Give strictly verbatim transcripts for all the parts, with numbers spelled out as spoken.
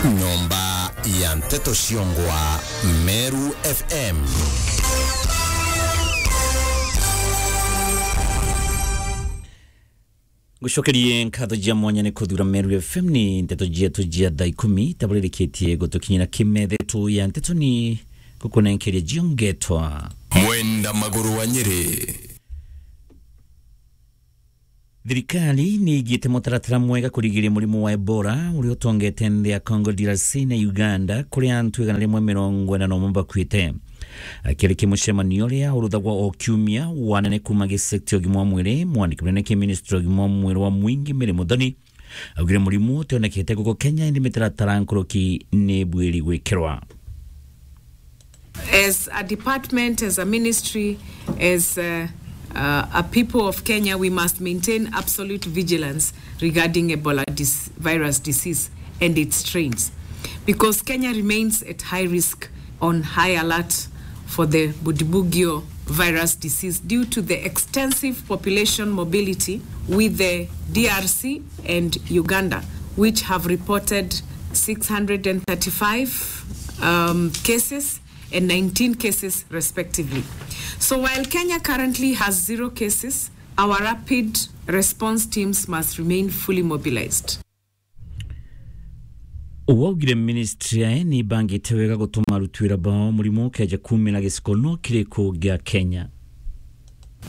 Nyomba ya nteto ciongwa Meru F M. Ngucokerie nkatho cia mwanya ni kuthura Meru F M. Ni nteto cietu cia thaa ikumi taburirikitie gutukinyira kimethe tu ya nteto ni gukunenkeria cio ngetwa Mwenda Maguru wa Nyeri. Thirikari ni igite mutaratara mwega kurigiria murimu wa Ebola uria utongete nthi ya Congo D R C na Uganda, kuria antu igana rimwe mirongo ina na umwe bakuite. Akirikia mucemanio uria uruthagwa o kiumia wa anene kuuma gicekti ya ugima wa mwiri, mwandiki munene ki ministry ya ugima wa mwiri wa mwingi Mary Muthoni augire murimu utionekete guku Kenya, indi mitaratara nkuruki ni bwiri gwikirwa. As a department, as a ministry, as, uh, uh, a people of Kenya, we must maintain absolute vigilance regarding Ebola dis-, virus disease and its strains, because Kenya remains at high risk, on high alert for the Bundibugyo virus disease due to the extensive population mobility with the D R C and Uganda, which have reported six hundred and thirty-five, um, cases and nineteen cases respectively. So while Kenya currently has zero cases, our rapid response teams must remain fully mobilized. Uu augire ministry yae ni ibangite wega gutuma aruti wira bao murimu ukeja kuumira giciko no kiriku gia Kenya.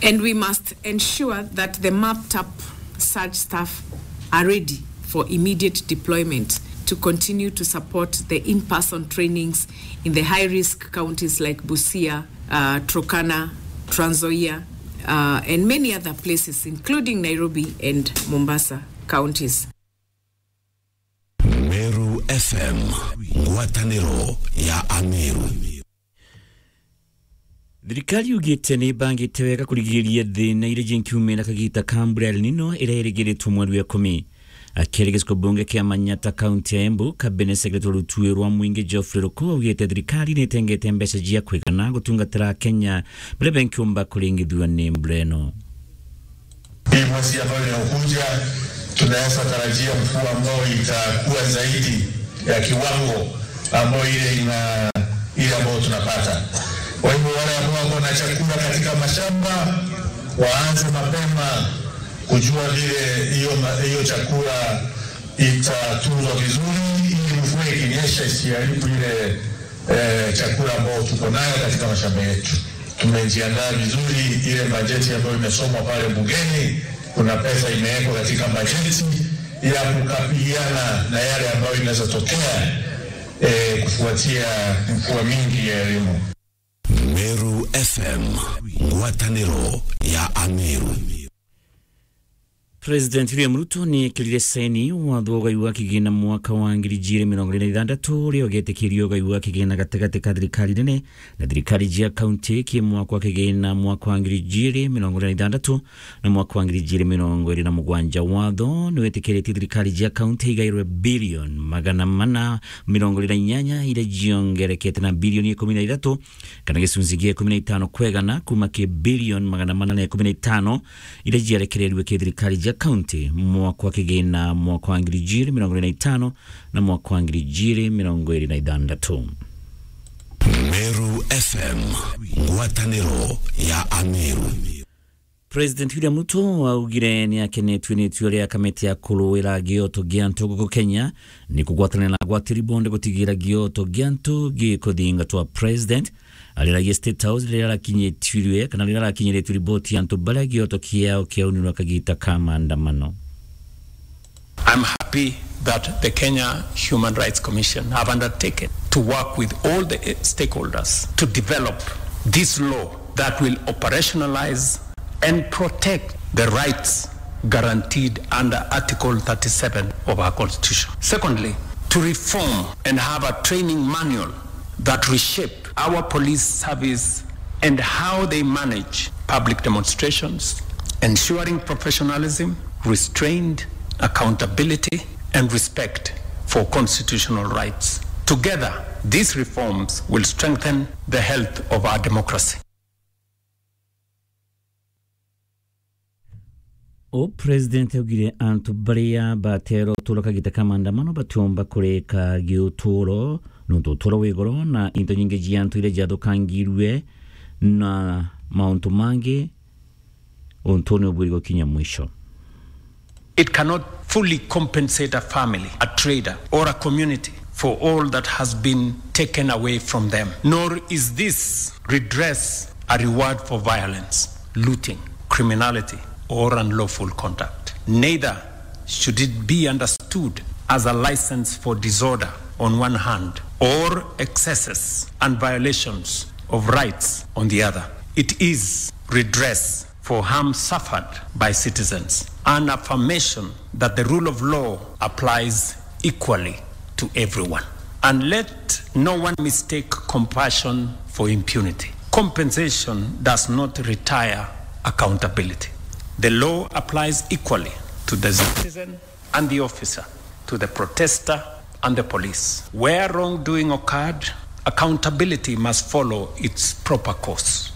And we must ensure that the mapped up surge staff are ready for immediate deployment to continue to support the in-person trainings in the high-risk counties like Busia, uh, Turkana, Trans Nzoia, uh, and many other places, including Nairobi and Mombasa counties. Meru F M, ngwataniro ya Ameru. Thirikari yugite ni ibangite wega kurigiria thina iria jinkiumira kagita ka mbura El Nino iria irigiritwe mweri wa ikumi. Akiaria giciko bunge kia Manyata, kaunti ya Embu, Cabinet Secretary wa rutuwe rwa mwingi Geoffrey Ruku augite thirikari ni itengete mbeca cia kwigana gutungatira Akenya baria benkiumba kuringithua ni mbura ino. Hii mwezi ambayo inayokuja, tunaweza tarajia mvua ambayo itakuwa zaidi ya kiwango ambayo ile ina-, ile ambayo tunapata. Kwa hivyo, wale ambao wako na chakula katika mashamba, waanze mapema kujua vile hiyo ma-, hiyo chakula itatunzwa vizuri, ili mvua ikinyesha isiharibu ile eh, chakula ambao tuko nayo katika mashamba yetu. Tumejiandaa vizuri, ile bajeti ambayo imesomwa pale bungeni, kuna pesa imewekwa katika bajeti ya kukabiliana na yale ambayo inaweza tokea, eh, kufuatia mvua mingi ya El Nino. Meru F M, ngwataniro ya Ameru. President William Ruto ni ekirire saini watho wa ugai wa kigina mwaka wa ngiri ijiri mirongo iri na ithandatu, uria ugetikiria ugai wa kigina gatigati ka thirikari nene na thirikari cia kaunti ki mwaka wa kigina mwaka wa ngiri ijiri mirongo iri na ithandatu na mwaka wa ngiri ijiri mirongo iri na mugwanja. Watho ni wetikiritie thirikari cia kaunti igairwe bilioni magana mana mirongo iri na inyanya, iria ciongerekete na bilioni ikumi na ithatu kana gicunci gia ikumi na itano kwa igana kuuma ki bilioni magana mana na ikumi na itano iria ciarekererirwe ki thirikari cia kaunti mwaka wa kigina mwaka wa ngiri ijiri mirongo iri na itano na mwaka wa ngiri ijiri mirongo iri na ithandatu. Meru F M, ngwataniro ya Ameru. President William Ruto augire ni akenetue ni itua ria kamiti ya kuruira gioto gia antu guku Kenya ni kugwatanira na agwatiri bonthe gutigira gioto gia antu gikuthingatwa. President ariragia State House riria arakinyitirwe kana riria arakinyiritwe riboti ya antu baria gioto kiao kiaunirwe kagita ka maandamano. I'm happy that the Kenya Human Rights Commission have undertaken to work with all the, eh, stakeholders to develop this law that will operationalize and protect the rights guaranteed under Article thirty-seven of our Constitution. Secondly, to reform and have a training manual that reshape our police service and how they manage public demonstrations, ensuring professionalism, restraint, accountability, and respect for constitutional rights. Together, these reforms will strengthen the health of our democracy. O President augire antu baria batera uturo kagita ka maandamano batiumba kurika giuturo, nontu uturo wi goro na into nyingi cia antu iria ciathukangirue na mauntu mangi untune ubwiri gukinya mwisho. It cannot fully compensate a family, a trader, or a community for all that has been taken away from them, nor is this redress a reward for violence, looting, criminality, or unlawful conduct. Neither should it be understood as a license for disorder on one hand, or excesses and violations of rights on the other. It is redress for harm suffered by citizens, an affirmation that the rule of law applies equally to everyone. And let no one mistake compassion for impunity. Compensation does not retire accountability. The law applies equally to the citizen and the officer, to the protester and the police. Where wrongdoing occurred, accountability must follow its proper course.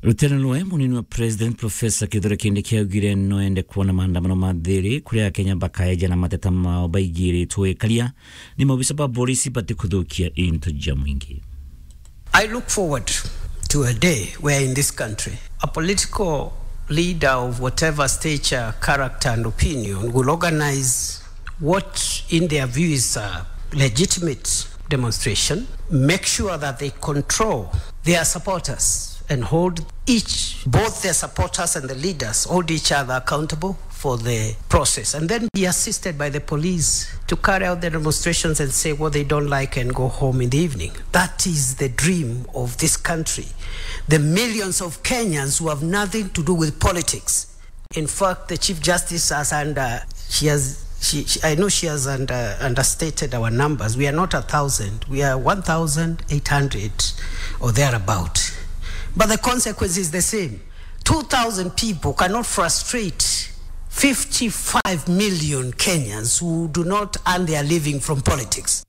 Rutere nwe munini wa President Professor Kithure Kindiki augire no ende kuona maandamano ma thiri kuria Akenya bakaeja na mateta mao baigiritwe ikaria ni maobisa ba polisi batikuthukia into ja mwingi. I look forward to a day where in this country a political leader of whatever stature, character and opinion will organize what in their view is a legitimate demonstration, make sure that they control their supporters and hold each, both their supporters and the leaders, hold each other accountable for the process, and then be assisted by the police to carry out the demonstrations and say what they don't like and go home in the evening. That is the dream of this country. The millions of Kenyans who have nothing to do with politics. In fact, the Chief Justice has under, she has, she, she, I know she has under, understated our numbers. We are not a thousand. We are one thousand eight hundred or thereabout. But the consequence is the same. Two thousand people cannot frustrate fifty-five million Kenyans who do not earn their living from politics.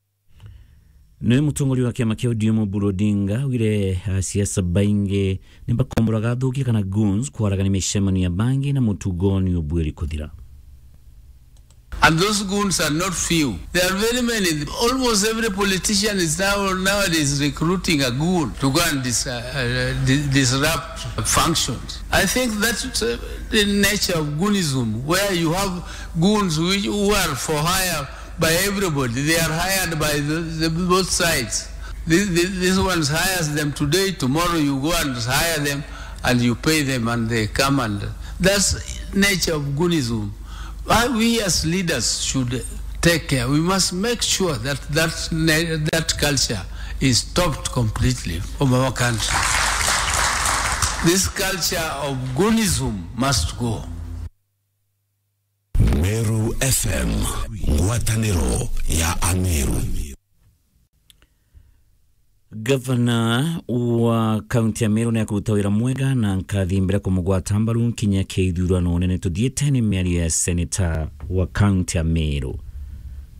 Niwe mutongoria wa kiama kia O D M Oburu Odinga augire asiasa baingi ni bakomburaga athukia kana goons kwaragania micemanio ya bangi na mutugo ni ubwiri kuthira. And those goons are not few. There are very many. Almost every politician is now nowadays recruiting a goon to go and dis-, uh, uh, di-, disrupt functions. I think that's, uh, the nature of goonism, where you have goons which, who are for hire by everybody. They are hired by the, the both sides. This, this, this one hires them today, tomorrow you go and hire them and you pay them and they come, and that's nature of goonism. Why we as leaders should take care. We must make sure that that, that culture is stopped completely from our country. This culture of goonism must go. Meru F M, ngwatanĩro ya Ameru. Gavana wa kaunti ya Meru ni akuruta wira mwega na nkathi mbere kumugwata mbaru nkinya kia ithurano nene tuthiite, ni miario ya seneta wa kaunti ya Meru.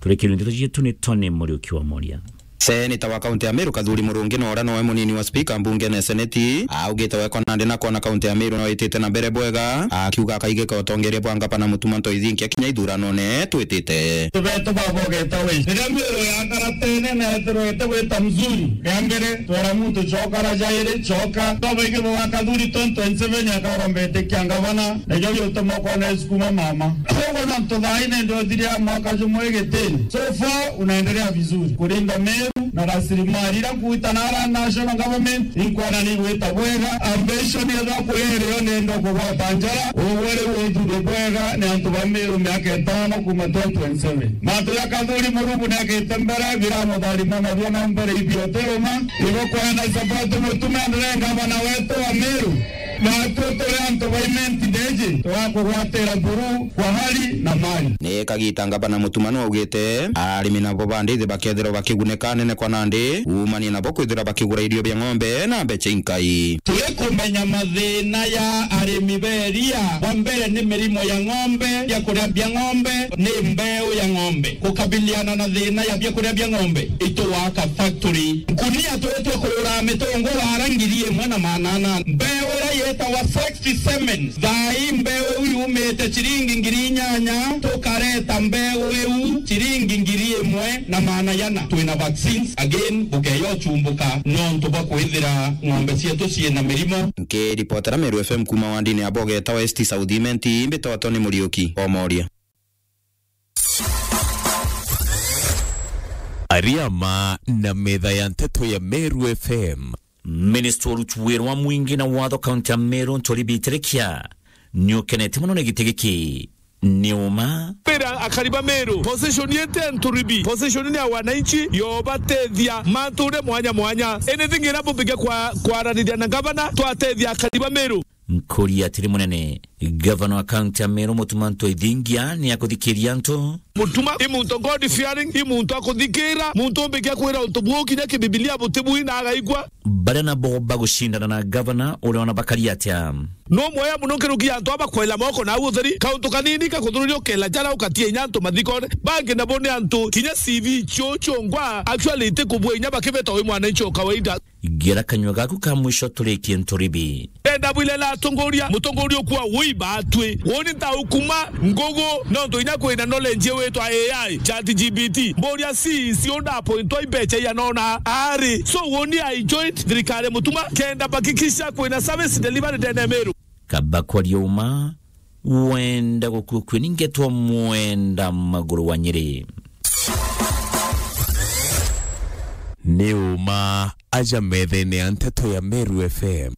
Turikirie ndeto cietu ni Tony Muriuki wa Moria. Seneta wa kaunti ya Meru Kathuri Murungi na uria nowe munini wa spika mbungene ya seneti, augite we kona ndi na kona kaunti ya Meru no itite na mbere bwega, akiuga akaigika utongeria bwa ngavana Mutuma Ntoithinkia kinya ithuranone twitite. Tubetu baba ugeta we. Riria Meru yakara tene na etirwete gwita mzuri, ria mbere twera muntu coka, ra jairi coka. Babaingi bwa Kathuri twenty twenty-seven akarombete kia ngavana, na ijo biutuma kona isukuma mama. Koguo na ntuthaine ndio thiria mwaka jumwe gitini. So far unaendelea vizuri kulinda Meru na rasilimali ira nkuita na ara national government inkwana ni igwita bwega. Ambition yethwa kuri irio nenda kugwata njara, ugwe riu uthure bwega ni antu ba Meru miaka itano kuma twenty twenty-seven. Mantu ja Kathuri Murungi ni akite mbere, biramutharima nabio na mbere ibioteruma. Igo kwenda support Mutuma endelee ngavana wetu wa Meru. Natwe turi antu ba Imenti Ndeji, twakugwatira buru kwa hali na mali. Ni kagita ngavana Mutuma nwaugite arimi nabo ba ndithi bakethirwa bakigunika nene kwa nandi, umanie nabo kwithirwa bakigura irio bia ng'ombe na mbecha inkai. Turikumenya mathina ya arimi beria. Wa mbere ni mirimo ya ng'ombe, bia kuria bia ng'ombe, ni mbeu ya ng'ombe. Kukabiliana na thina ya bia kuria bia ng'ombe, itugwaka factory. Nkunia turia twa kurura mitungura ara ngiri imwe na maana ana. Mbeu iria Yetawa sixty semen. Thaa ii mbeu iu yumite ciringi ngiri inyanya, tukareta mbeu iu ciringi ngiri imwe na maana jana. Twina vaccines. Again, bukeya uchumbuka nontu bwa kwithira ng'ombe cietu ciina mirimo. Nkiripotera Meru F M kuma wandini ya Boge etawa East South Imenti, mbitwa Tony Muriuki, Omoria. Ariama na metha ya nteto ya Meru F M. Minister wa uruti wira wa mwingi na watho kaunti ya Meru, Nturi Bitirikia, ni ukenete mono ni giti giki. Ni uma. Mbira akari ba Meru, position yetu ya Nturibi, position ni ya wananchi, yobatethia mantu uria mwanya mwanya. Anything ira bumbike kwa, kwaraniria na gavana, twatethia akari ba Meru. Nkuri atiri munene, gavana wa kaunti ya Meru Mutuma Ntwethingia ni akuthikiria antu. Mutuma i muntu God fearing, i muntu akuthikira, muntu umbikia kwira untu buu kinya kibibilia butibui na agaigua. Baria nabo bagucindana na gavana uria ona bakari atia. No mweya muno nkiruki ya antu aba kwela moko na au utheri, kauntu kanini kakuthururia ukela jara ukatia inya antu mathikone. Bangi nabo ni antu kinya C V cio ciongwa actually itikubua inya bakibeta wi mwananchi o kawaida. Gera kanyua gaku ka mwisho turikie Nturibi. Ndenda bwile la atongoria, mutongoria ukua wi batwi. Woni nta ukuma ngugu, nontu inya kwina knowledge witwa A I, chat G P T. Mburia si, si unda appointwa imbecha ya nona ari. So woni I joined thirikari Mutuma, kenda bakikisha kwina service delivery ndene Meru. Kaba kwaria uma, wenda gukua kwi ningetwa mwenda maguru wa Nyeri. Ni uma aja methene ya nteto ya Meru F M.